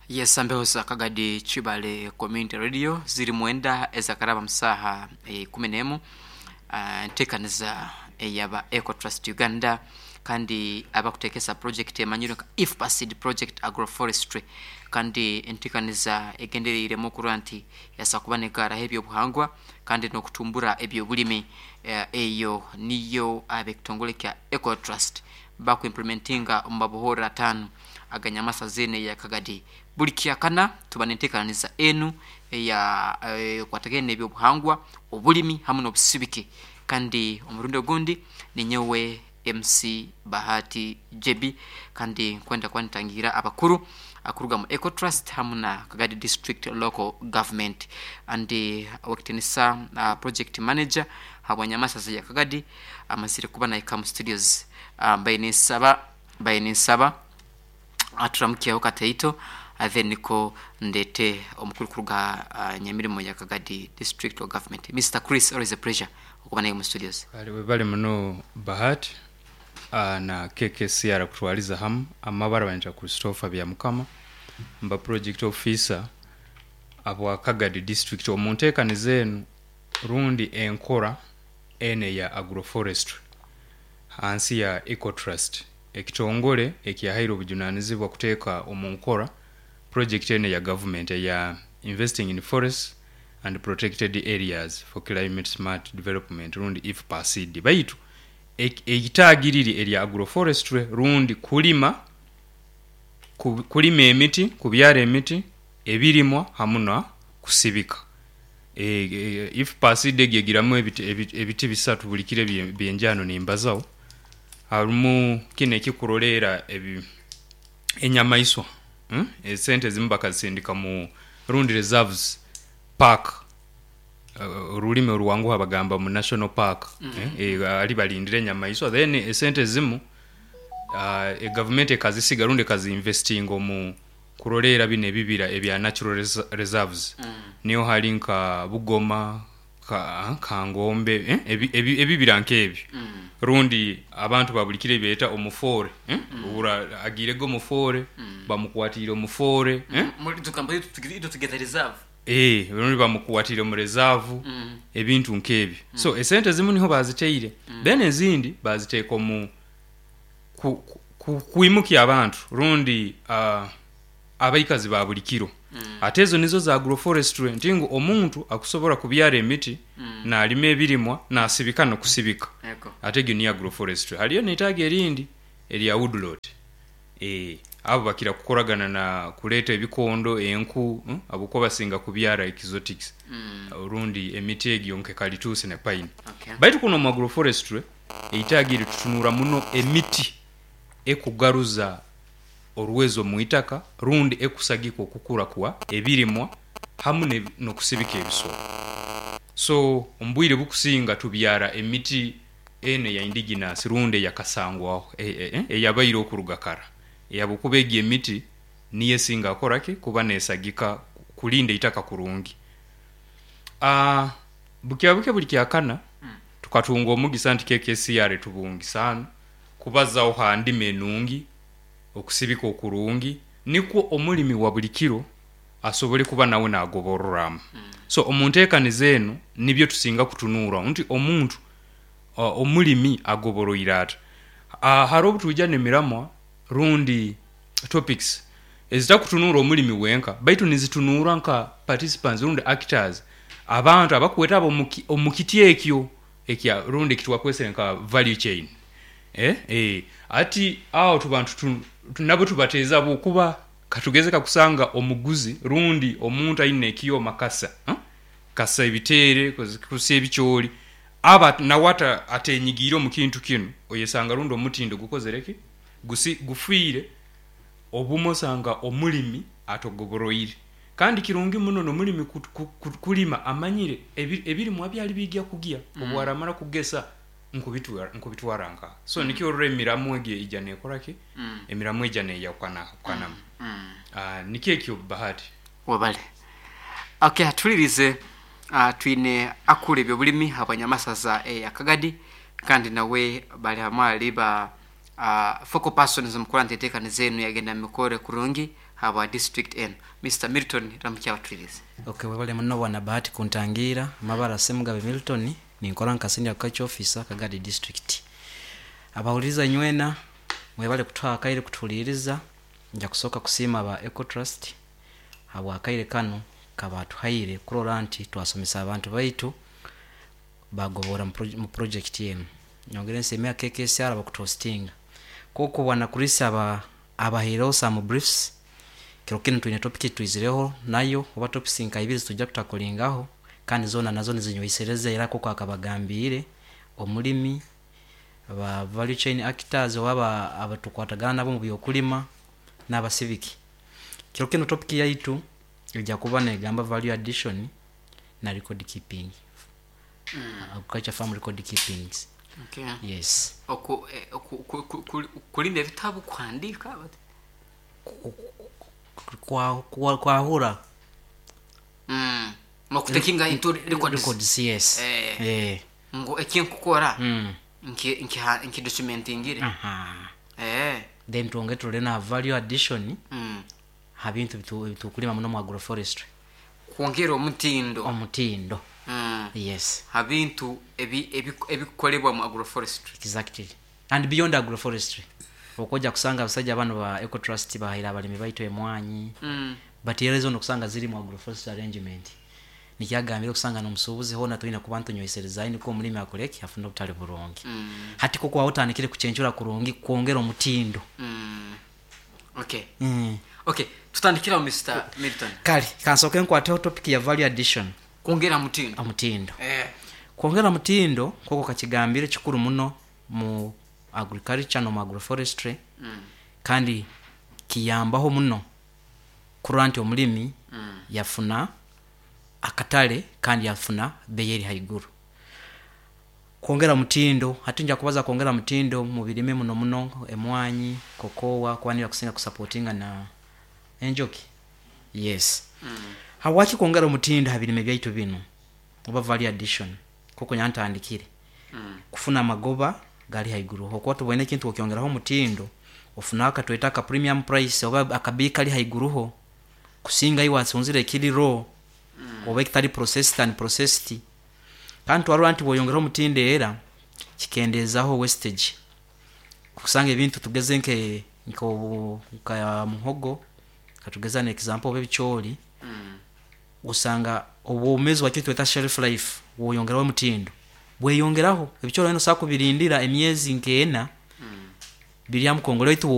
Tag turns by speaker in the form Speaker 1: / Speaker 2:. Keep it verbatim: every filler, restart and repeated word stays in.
Speaker 1: Yes, ambeho za Kagadi Chibale Community Radio ziri mwenda ezakaraba musaha e, kumi n'emu. uh, ntekaniza eyaba Eco Trust Uganda kandi abakutekesa project emanyirwe nka IFPASID project agroforestry, kandi entekaniza egendereiremu okurora nti yasa kuba negaraho ebyobuhangwa kandi n'okutumbura ebyobulimi. Eyo niyo ab'ekitongole kya Eco Trust bakuimplementinga omu mabuhoro ataano aganyamasa zene ya Kagadi. Buli kyakana tuba nenteekaniza enu eya ekwatagene n'ebyobuhangwa, obulimi hamu n'obusibiki. Kandi omurundi ogundi ninyowe M C Bahati Jebi, kandi nkwenda kuba nitangira abakuru akuruga mu Eco Trust hamu na Kagadi District Local Government, andi wakitinisa uh, project manager habwanyamasa ya Kagadi amazire kuba na Ikamu Studios. uh, bayinisaba bayinisaba aturamukiyaho kateito then niko ndete omukuru kuruga uh, nyamirimo ya Kagadi District Local Government, Mister Chris. Always a pleasure okuba naye mu studios.
Speaker 2: Kale webale muno Bahati uh, na K K C R kutwaliza hamu. Amabara banja Christopher Byamukama, mba project officer abwa Kagadi District omunteekaniza enu rundi enkora ene ya agroforestry hansi ya Eco Trust, ekitongole ekyahaire obujunanizibwa kuteeka omu nkora project ene ya government ya investing in forests and protected areas for climate smart development rundi IFPASID. Baitu ekitaagiriri erya agroforestry rundi kulima kulima emiti, kubyara emiti, ebirimwa hamu na kusibika. E, e, IFPASID egigiramu ebiti, ebiti, ebiti bisatu buli kire byenjano nimbazaho. Harumu kino ekikurolera ebi enyamaiswa, hmm? Esente zimu bakazisindika mu rundi reserves park, uh, olulimi oluwanguha bagamba mu national park. mm -hmm. eh, eh, ali balindira enyamaiswa, then esente zimu uh, e government ekazisiga rundi ekazinvestinga omu kurolera bino ebibira ebya natural reserves. mm. Niyo hali nka Bugoma, ka, Kangombe, eh? ebi, ebi, ebibira nk'ebyo. mm. Rundi abantu babulikire beeta omufore, eh? mm. Ura agirego omufore, mm. bamukwatire omufore, eh? Eh, rundi bamukwatire mu reserve, mm. ebintu nk'ebyo. mm. So esente zimu niho baziteire, mm. then ezindi baziteeka omu ku, ku, kuimukia abantu rundi uh, abaikazi ba buli kiro. mm. Ate ezo nizo za agroforestry ntingu omuntu akusobola kubyara emiti, mm. n'alima ebirimwa n'asibika n'okusibika. Ate egyo ni agroforestry. Haliyo n'etaaga erindi erya woodlot, eh, abo bakira kukoragana na kuleeta ebikondo, enku, hmm? Abuko basinga kubyara exotics, mm. rundi emiti egyo nke kalitusi ne pine. Okay. Baitu kuno mu agroforestry eitaaga eri tutunura muno emiti ekugaruza oruwezo muitaka rundi ekusagika okukura kwa ebirimwa hamu n'okusibika ebisolo. So ombwire bukusinga tubyara emiti ene ya indigenous rundi yakasangwaho eyabaire okuruga kara, eyabukuba egyo emiti niyo esinga akoraki kuba nesagika kulinda itaka kurungi. Ah, bukya buke buli kyakana mm. tukatunga omugisa nti K K C R tubungisana kubazaho handima enungi okusibika okurungi nikwo omulimi wa buli kiro asobole kuba nawe nagoborora. mm. So omunteekaniza eno nibyo tusinga kutunura nti omuntu uh, omulimi agoboroire ata. uh, hariho obutuija n'emiramwa rundi topics ezitakutunura omulimi wenka, baitu nizitunura nka participants rundi actors, abantu abakweta abo omukiti ekyo ekya rundi ekitwakwesere nka value chain. Eh, eh, ati awo tubantu nabo tubateeza bukuba katugeze kakusanga omuguzi rundi omuntu aine ekiyoma kasa, huh? Kasa ebiteere kusa ebikyoli aba nawe atenyigiire omu kintu kinu, oyesanga rundi omutindo gukozereki gusi gufiire obumo osanga omulimi atogoboroire. Kandi kirungi muno n'omulimi kulima amanyire ebirimwa byali bijja kugya, mm. obwaramara kugesa nkubitwara nkubitwara nka so mm. nikyo orora emiramu egyo ija nekoraki, mm. emiramu ija neyakwana kwanam. mm. mm. uh, nikyo ekyo Bahati
Speaker 1: wabale. Okay, atulirize uh, twine akule ebyobulimi abanyamasaza e Akagadi, kandi nawe bali hamwe aliba uh, focal persons mukora ntetekaniza enu yagenda mikore kurungi habwa district enu. Mister Milton, ramukya abatwirize.
Speaker 3: Okay, webale muno bwana Bahati kuntangira. Mabara Semugabe Milton, ninkora nka senior agriculture officer Kagadi district. Abahuliriza nywena mwebale kutwaha akaire kutuhuliriza. Nja kusooka kusiima aba Ecotrust habwa akaire kanu kabatuhaire kurora nti twasomesa abantu baitu bagobora mu project enu. Nyongere nsiime K K S R abakutuhostinga. Koko bwana Chris aba abahaireho some briefs. Kiro kinu twine topic twizireho nayo oba topics nka ibiri tujja kutakolingaho kandi zona nazo nizinywesereza era koko akabagambire omulimi aba value chain actors oba abatukwatagana nabo mu byokulima n'abasibiki. Kiro kinu topic yaitu ejja kuba negamba value addition na record keeping. Mm. Agriculture farm record keeping.
Speaker 1: Okay.
Speaker 3: Yes.
Speaker 1: Oku kulinda ebitabu kuhandika
Speaker 3: kwa kwa kwahura.
Speaker 1: Mm. Nokutekinga into records.
Speaker 3: Records, yes.
Speaker 1: Eh.
Speaker 3: Eh.
Speaker 1: Ngo ekinkukora.
Speaker 3: Mm.
Speaker 1: Nki nki nki documentingire.
Speaker 3: Aha.
Speaker 1: Eh.
Speaker 3: Then tuonge tulena na value addition.
Speaker 1: Mm.
Speaker 3: Habintu bitu bitukulima muno mu agroforestry.
Speaker 1: Kwongera omutindo.
Speaker 3: Omutindo.
Speaker 1: Mm.
Speaker 3: Yes.
Speaker 1: Habintu ebi ebikolebwa mu agroforestry.
Speaker 3: Exactly. And beyond agroforestry. Okoja kusanga abasajja bano ba Ecotrust bahira abalimi baitu emwanyi.
Speaker 1: Mm.
Speaker 3: But yerezo nokusanga ziri mu agroforestry arrangement. Nikyagambira okusanga n'omusuubuzi hona tulina kuba ntunyoisereza niko omulimi akoleki afuna obutale burungi.
Speaker 1: Mm.
Speaker 3: Hati koko awotandikire kuchenchura kurungi kwongera omutindo.
Speaker 1: Mm. Okay.
Speaker 3: Mm.
Speaker 1: Okay, tutandikira Mister Milton.
Speaker 3: Kale, kansoke nkwateho topic ya value addition.
Speaker 1: Kwongera mutindo.
Speaker 3: Omutindo.
Speaker 1: Eh.
Speaker 3: Kwongera mutindo koko kachigambire kikuru muno mu agriculture no mu agroforestry.
Speaker 1: Mm.
Speaker 3: Kandi kiyambaho muno kurora nti omulimi
Speaker 1: mm.
Speaker 3: yafuna akatale kandi yafuna bei eri haiguru. Kwongera mutindo, hati nja kubaza kwongera mutindo mu birime muno muno emwanyi, kokowa kwanira kusinga kusupportinga na enjoki. Yes.
Speaker 1: Mm.
Speaker 3: Hawaki kwongera mutindo ha birime byaitu bino oba value addition koko nyantandikire.
Speaker 1: Mm.
Speaker 3: Kufuna magoba gali haiguru. Hokwa tubone kintu okyongeraho mutindo ofuna akatweta aka premium price oba akabi kali haiguruho kusinga iwa sunzire kili raw. Mm. Oba ekitali processed and processed. Kandi twarora nti bwoyongeraho mutindo era kikendezaho wastage. Kusanga ebintu tugeze nke nko nka muhogo katugeza na example oba ebicholi.
Speaker 1: Mm.
Speaker 3: Usanga obwomezi wakyo tweta shelf life woyongeraho mutindo bweyongeraho ebicholi eno sakubirindira emyezi nkeena.
Speaker 1: Mm.
Speaker 3: Birya mukongolo itu